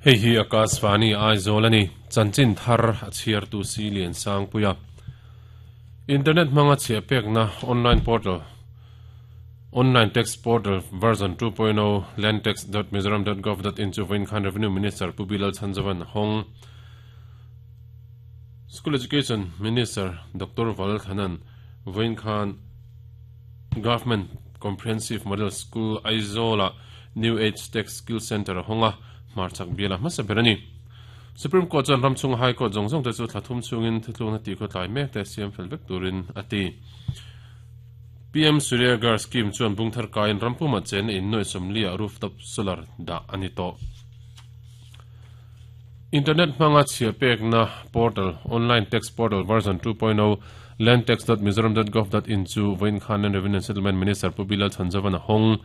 Hei hi Akashvani Aizawl a ni. Chanchin thar a chhiartu si Lian Sangpuia. Internet hmanga chhiah pekna online portal Online Tax Portal version 2.0 landtax.mizoram.gov.in chu vawiin khan Revenue Minister Pu Bilal Chhanzovan a hawng. School Education Minister Doctor Val Thanan vawiin khan Government Comprehensive Model School Aizawl-ah New Age Tech Skill Centre a hawng a, hmarchhak bial a hmasa ber a ni. Supreme Court chuan ram chhunga High Court zawng zawng te chu thla thum chhungin thuthlukna tih khawtlai mek te siam fel vek turin a ti. PM Surya Ghar Scheme chuan bung thar kaiin ram pumah chenna in nuaih sawmliah rooftop solar dah a ni tawh. Internet hmanga chhia pekna portal, Online Tax Portal version 2.0, landtax.mizoram.gov.in chu vawiin khan Land Revenue and Settlement Minister Pu Bilal Chhanzovan a hawng.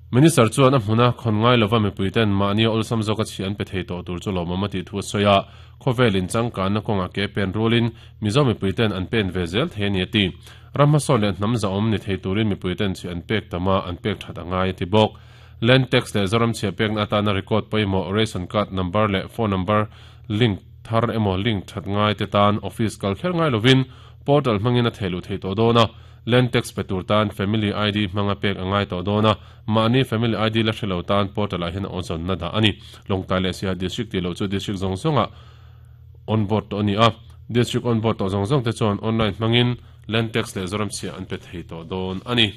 Minister chuan a hmuna khawn ngai lova mipuiten mahni a awlsam zawka chhia an pe thei tawh tur chu lawmawm a tih thu a sawi a, khawvel inchangkanna kawngah ke pen rualin Mizo mipuiten an pen ve zel thei a ni a ti. Ram hmasawn leh hnam zahawm ni thei turin mipuiten chhia an pek tam a, an pek that a ngai a ti bawk. Land tax leh Zoram chhia pekna atana record pawimawh ration card number leh phone number link thar emaw link that ngai te tan office kal kher ngai lovin portal hmangin a thehluh theih tawh dawn a, land tax pe tur tan family ID hmanga pek a ngai tawh dawn a, mahni family ID la hre lo tan portal ah hian a awzawnna dah a ni. Lawngtlai leh Siaha District tih loh chu district zawng zawngah on board tawh a ni a, district on board tawh zawng zawng te chuan online hmangin land tax leh Zoram chhia an pe thei tawh dawn a ni.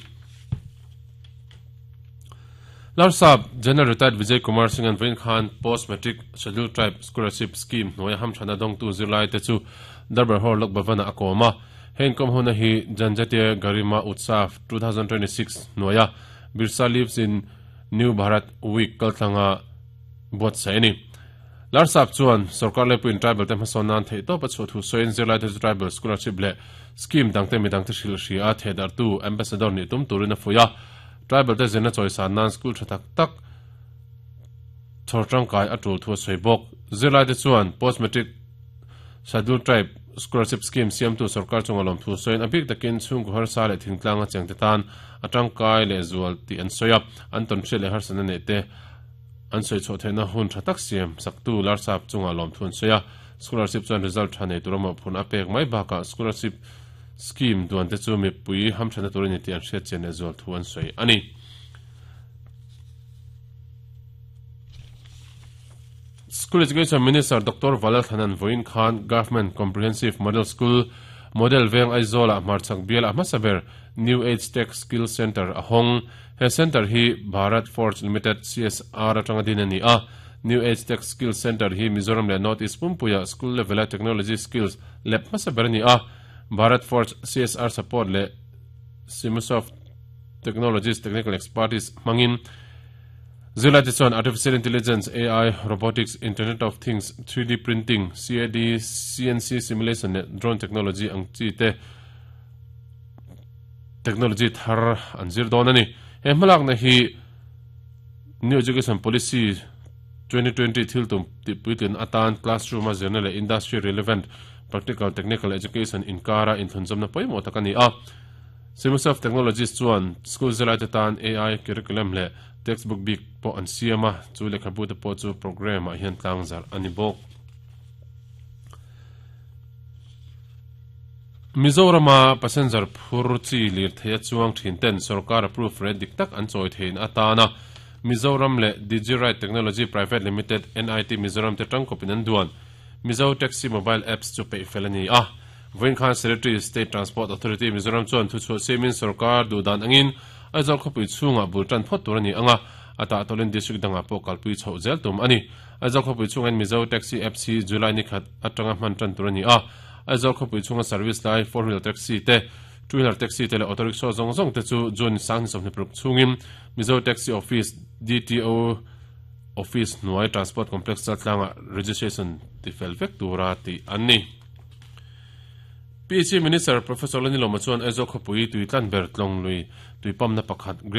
Larsap General Retired Vijay Kumar Singh an vawiin khan Post Matric Scheduled Tribe Scholarship Scheme hnuaia hamthana dawngtu zirlai te chu Darbar Hall Lok Bhavan-ah a kawm a. He inkawm huna hi Janjatiya Garima Utsav 2026 hnuaia Birsa Lives in New Bharat Week kaltlanga buatsaih a ni. Larsap chuan sorkar laipuiin tribal te hmasawn nan theihtawp a chhuah thu sawiin zirlai te chu tribal scholarship leh scheme dangte midangte hrilh hria a thehdarhtu ambassador nih tum turin a fuih a. Tribal te zirna chawisan nan school tha tak tak chhawr tangkai a tul thu a sawi bawk. Zirlai te chuan post matric scheduled tribe scholarship scheme siamtu sorkar chunga lawmthu sawiin a bik takin chhungkaw harsa leh thingtlanga chengte tan a tangkai lehzual tih an sawi a, an tawnhriat leh harsatna neih te An sawi chhuah theihna hun tha tak siam saktu Larsap chungah lawmthu an sawi a, scholarship chuan result tha nei tura mawhphurhna a pek mai bakah scholarship scheme duan te chu mipui hamthatna tur a ni tih an hriat chian leh zual thu an sawi a ni. School Education Minister Doctor Valal Thanan vawiin khan Government Comprehensive Model School, Model Veng Aizawlah hmarchhak bial a hmasa ber New Age Tech Skill Centre a hawng. He centre hi Bharat Forge Limited, CSR, atanga din a ni a. New Age Tech Skills Centre hi Mizoram leh North East pumpuia school level-a technology skills lep hmasa ber a ni a. Bharat Forge CSR support leh Simusoft Technologies technical expertise hmangin zirlaite chuan Artificial Intelligence, AI, Robotics, Internet of Things, 3D Printing, CAD, CNC Simulation leh Drone Technology ang chi te Technology thar an zir dawn a ni. He hmalakna hi New Education Policy 2020 thil tum tihpuitlin atan classroom a zirna leh industry relevant practical technical education inkara inthlunzawmna pawimawh tak a ni a. Simusoft Technologies chuan school zirlaite tan AI curriculum leh textbook bik pawh an siam a, chu lehkhabu te pawh chu program ah hian tlangzarh a ni bawk. Mizorama passenger phur chi lirthei a chuang thin ten sorkar approve rate dik tak an chawi theihna atana Mizoram leh Digiride Technology Private Limited, NIT Mizoram te tangkawpin an duan Mizo Taxi Mobile Apps chu peih fel a ni a. Vawiin khan Secretary, State Transport Authority, Mizoram chuan thuchhuah siamin sorkar duhdan angin Aizawl khawpui chhungah bul tan phawt tur a ni ang a, a tahtawlin district dangah pawh kalpui chhoh zel tum a ni. Aizawl khawpui chhungin Mizo Taxi Apps hi July ni khat atanga hman tan tur a ni a. Aizawl khawpui chhunga service lai four wheeler taxi te, two wheeler taxi te leh auto rickshaw zawng zawng te chu June 2026 chhungin Mizo Taxi Office, DTO Office hnuai Transport Complex Chaltlangah registration tifel vek tura tih an ni. PHE Minister Professor Lanilawma chuan Aizawl khawpui tui tlan ber tlawng lui tui pump na pakhat Great.